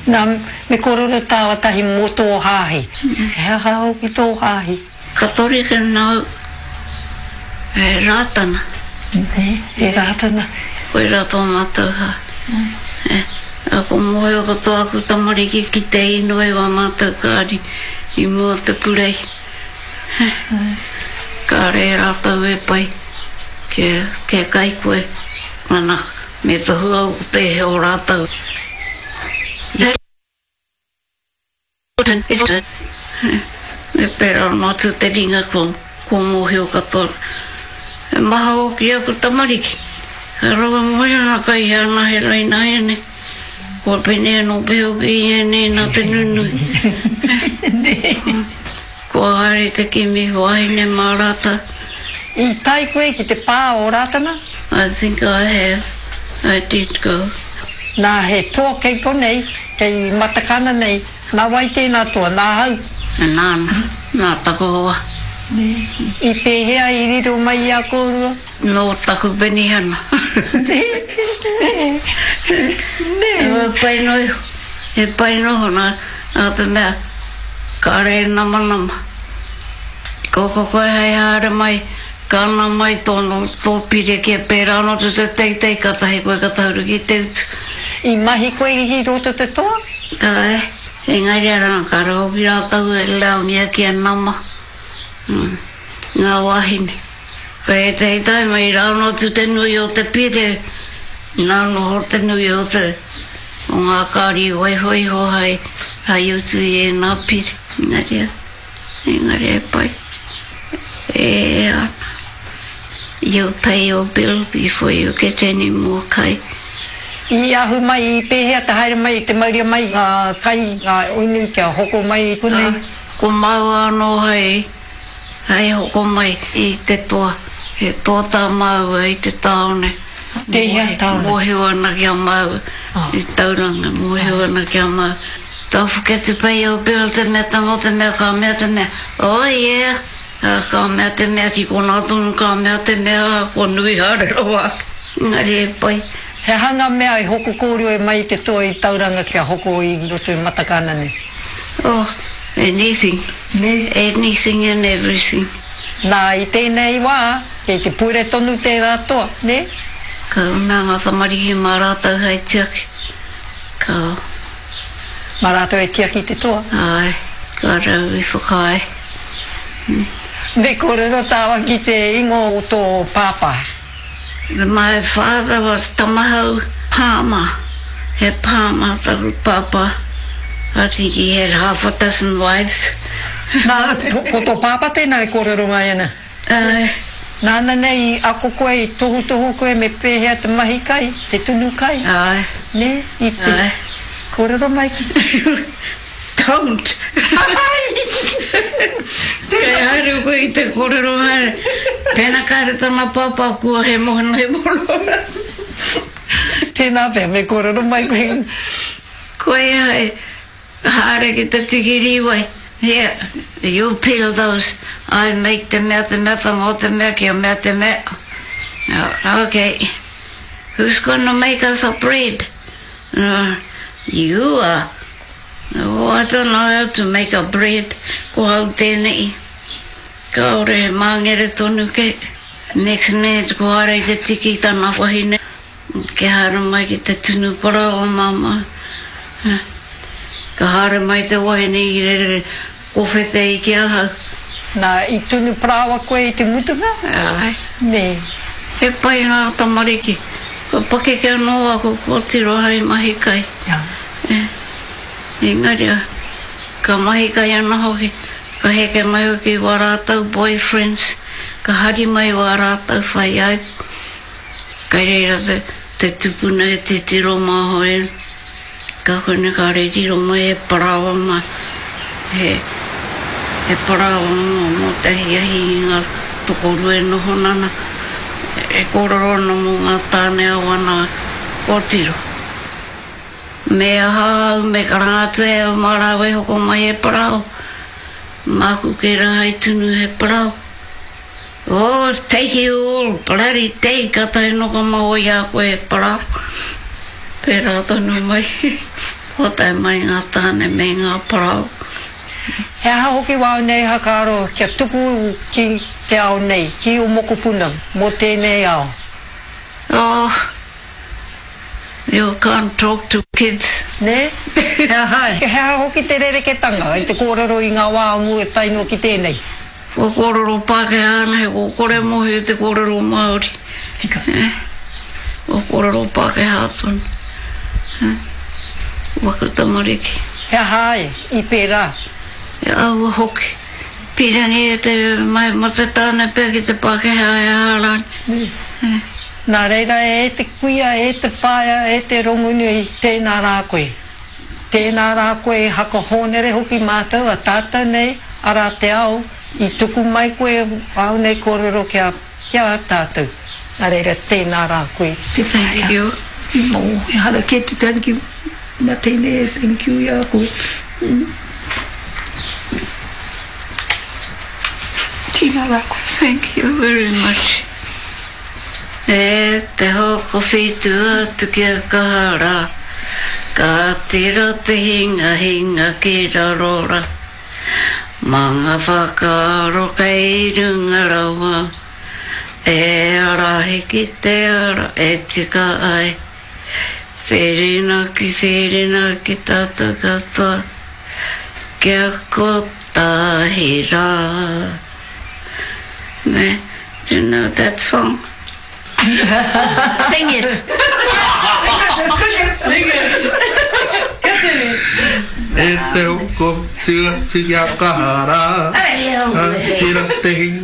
Nā, me kōrero tāua tahi mō tō hāhi. He aha hoki tō hāhi? Katorika nāu, he Rātana. Nē, he Rātana. Koirā tō mātou hāhi. Ē, ko mōhio katoa aku tamariki ki te inoi wā mātou kāri i mua o te purei. Kāre rātou e pai kia, kia kai koe, nana, me tohu au ko tēhea o rātou. Me pērā noa atu te ringa kua, kua mōhio katoa. He maha hoki aku tamariki. Ka rawe mai ana kai hea ana he raina ēnei. Kua pēnei anō pea hoki i ēnei nā te nunui. Kua haere te kimi wāhine mā rātou. I tae koe ki te pā o Rātana? I think I have. I did go. Nā, he toa kei konei, kei Matakana nei, nā wai tēnā toa, nāhau? Nāna, nā taku hoa. Nē. I pēhea i riro mai i a kōrua? Nō taku penihana. Nē, nē, nē. He pai noa iho, he pai noa iho nā, nā te mea, kāre e namanama. Ko ko koe hei haere mai, ka ana mai tōna, tō pire kia pērā anō te te teitei, kātahi koe ka tahuri ki te utu. I mahi koe i roto te toa? Āe, engari arā, kāre hoki rātou e laungia kia nama, ngā wāhine. Kei ētahi taima i rāono atu te nui o te pire, nā noho te nui o te, o ngā kāri i waiho iho hai, hai utu i ēnā pire. Engari, engari e pai, e ea ana. You pay your bill before you get any more kai. I ahu mai, i pēhea te haere mai, te mauria mai ngā kai, ngā unu kia hoko mai i konei? Ko māua anō hai Hei hoko mai i te toa. He toa tā māua i te tāone. Tēhea tāone? Mōhio ana ki a māua i Tauranga, mōhio ana ki a māua. Don't forget to pay your bill te mea tango te mea ka mea te mea, oh yeah! Ka mea te mea ki konā tonu ka mea te mea kua nui haere rawa ake. Engari e pai. He aha ngā mea i hoko kōrua mai i te toa i Tauranga kia hoko i roto i Matakana nei? Oh, anything. Nē. Anything and everything. Nā, i tēnei wā, kei te pure tonu tērā toa, nē? Ka mea ngā tamariki mā rātou hei tiaki. Ka. Mā rātou e tiaki te toa? Āe, ka rau i whakaae. Me kōrero tāua ki te ingoa o tō pāpā. My father was Tamahau Palmer, he Palmer taku pāpā, I think he had half a dozen wives. Nā, ko tō pāpā tēnā e kōrero mai ana? Āe. Nāna nei i ako koe, i tohutohu koe me pēhea te mahi kai, te tunu kai? Āe. Nē, i te. Āe. Kōrero mai ki. Don't! Kei haere koe i te kōrero haere. Pēnā kāre tana pāpā kua he moana he moana. Tēnā pea me kōrero mai koe. Koia e haere ki te tiki rīwai. Here, you peel those, I make te mea te mea tango te mea kia mea te mea. Okay, who's gonna make us a bread? You are. Oh, I don't know how to make a bread, ko au tēnei. Kāore he māngere tonu kei. Next minute ko haere i te tiki tana wahine, kia haere mai ki te tunu parāoa māmā. Ka haere mai te wahine i rere kowhete i ki ahau. Nā, i tunu parāoa koe i te mutunga? Āe. Nē. He pai ngā tamariki. Kua pakeke anō aku kōtiro hai mahi kai. Engari, ka mahi kai ana hoki, ka heke mai hoki wā rātou boyfriends, ka hari mai wā rātou whaiāipo. Kai reira te, te tupuna e titiro māhoi ana. Ka kone kāre riro mai he parāoa mā, he, he parāoa mō, mō te ahiahi i ngā tokorua e noho nana, e kōrero ana mō ngā tāne a wana kōtiro. Me aha au, me karanga atu e au mā rāua e hoko mai he parāoa. Māku kē rā hei tunu he parāoa. Oh, take you all bloody day, katahi noka maua i a koe e parāoa. Pērā tonu mai. Kua tae mai ngā tāne me ngā parau. He aha hoki wāu nei whakaaro kia tuku ki te ao nei, ki ō mokopuna mō tēnei ao? Oh, you can't talk to kids. Nē? He aha, he aha hoki te rereketanga i te kōrero i ngā wā o mua tae noa ki tēnei? Kua kōrero Pākehā ana, he kua kore mōhio te kōrero Māori. Tika. Kua kōrero Pākehā tonu. Waku tamariki. He aha ai i pērā? He aua hoki. Pīrangi e te mate tāne pea ki te Pākehā e aha rānei. Nā reira e te kuia, e te whaea, e te Rongonui, tēnā rā koe. Tēnā rā koe e hakahōnere hoki mātou a tātou nei, arā te ao, i tuku mai koe āu nei kōrero ki a, ki a tātou. Nā reira, tēnā rā koe te whaea. Thank you. No, ehara kē te thank you, na tēnei e thank you i a koe. Tēnā rā koe. Thank you very much. E te hokowhitu atu kia kaha ra, Ka tira te hingahinga ki raro ra, Ma nga whakaaro kei runga rawa, E arahi ki te ara e tika ai, Whirinaki, whirinaki tatou katoa, Kia kotahi ra. Me. Do you know that song? Sing it! Sing it! Sing it! Kia tere! E te hoko atu atu kia kaha rā. Ka tira te hinga.